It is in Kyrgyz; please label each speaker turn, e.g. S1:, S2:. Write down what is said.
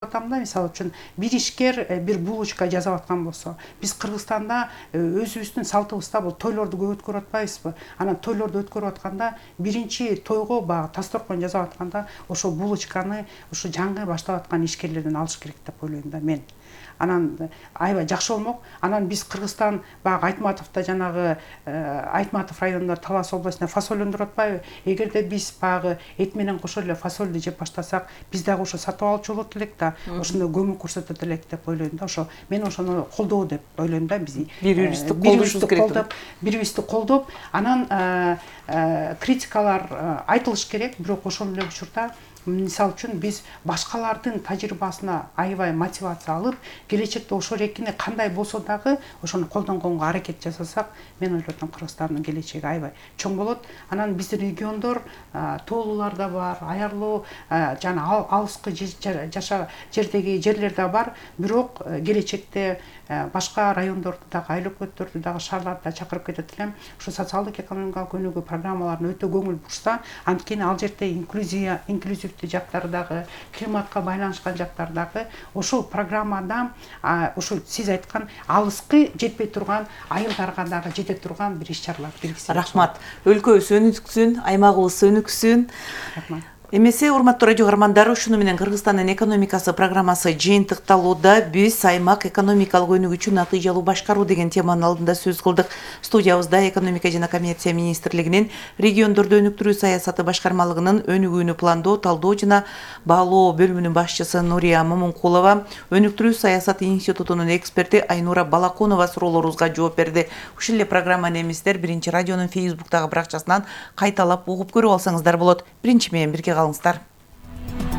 S1: Атамда мисалы үчүн бир ишкер бир булочка жасап аткан болсо, биз Кыргызстанда өзүбүздүн салтыбызда бул тойлорду көп өткөрүп атпайбызбы? Анан тойлорду өткөрүп атканда биринчи тойго баягы тасторкон жасап атканда ошо булочканы ушу жаңы баштап аткан ишкерлерден алыш керек деп ойлойм да мен. Анан аябай жакшы болмок. Анан биз Кыргызстан баягы Айтматовдо жанагы Айтматов районунда Талас областында фасоль өндүрүп атпайбы? Эгерде биз баягы эт менен кошо эле фасольду жеп баштасак, биз дагы ошо сатып алчу болот элек да, ошондой көмөк көрсөтөт элек деп ойлойм да. Ошо мен ошону колдоо деп ойлойм да. Биз
S2: бири-бирибизди
S1: колдоп, бири-бирибизди колдоп, анан критикалар айтылыш керек, бирок ошол эле учурда мисалы үчүн биз башкалардын тажрыйбасына аябай мотивация алып, келечекте ошол эркине кандай болсо дагы ошону колдонгонго аракет жасасак, мен ойлойм Кыргызстандын келечеги аябай чоң болот. Анан биздин региондор тоолуулар да бар, аярлуу жана алыскы жердеги жерлер да бар, бирок келечекте башка райондорду дагы, айлөкмөттөрдү дагы, шаарларды да чакырып кетет элем. Ушу социалдык экономикалык өнүгүү программаларына өтө көңүл бурса, анткени ал жерде инклюзивдүү жактары дагы, климатка байланышкан жактар дагы ошол программада ошо сиз айткан алыскы жетпей турган айылдарга дагы жете турган бир иш-чаралар киргизсе.
S2: Рахмат. Өлкөбүз өнүксүн, аймагыбыз өнүксүн.
S1: Рахмат.
S2: Эмесе, урматтуу радио каармандар, ушуну менен Кыргызстандын экономикасы программасы жыйынтыкталууда. Биз аймак экономикалык өнүгүүчү натыйжалуу башкаруу деген теманын алдында сөз кылдык. Студиябызда экономика жана коммерция министрлигинин региондорду өнүктүрүү саясаты башкармалыгынын өнүгүүнү пландоо, талдоо жана баалоо бөлүмүнүн башчысы Нурия Момункулова, өнүктүрүү саясаты институтунун эксперти Айнура Балаконова суроолорубузга жооп берди. Ушул эле программаны эместер Биринчи радионун Facebook'тагы баракчасынан кайталап угуп көрүп алсаңыздар болот. Биринчи менен бирге калыңыздар.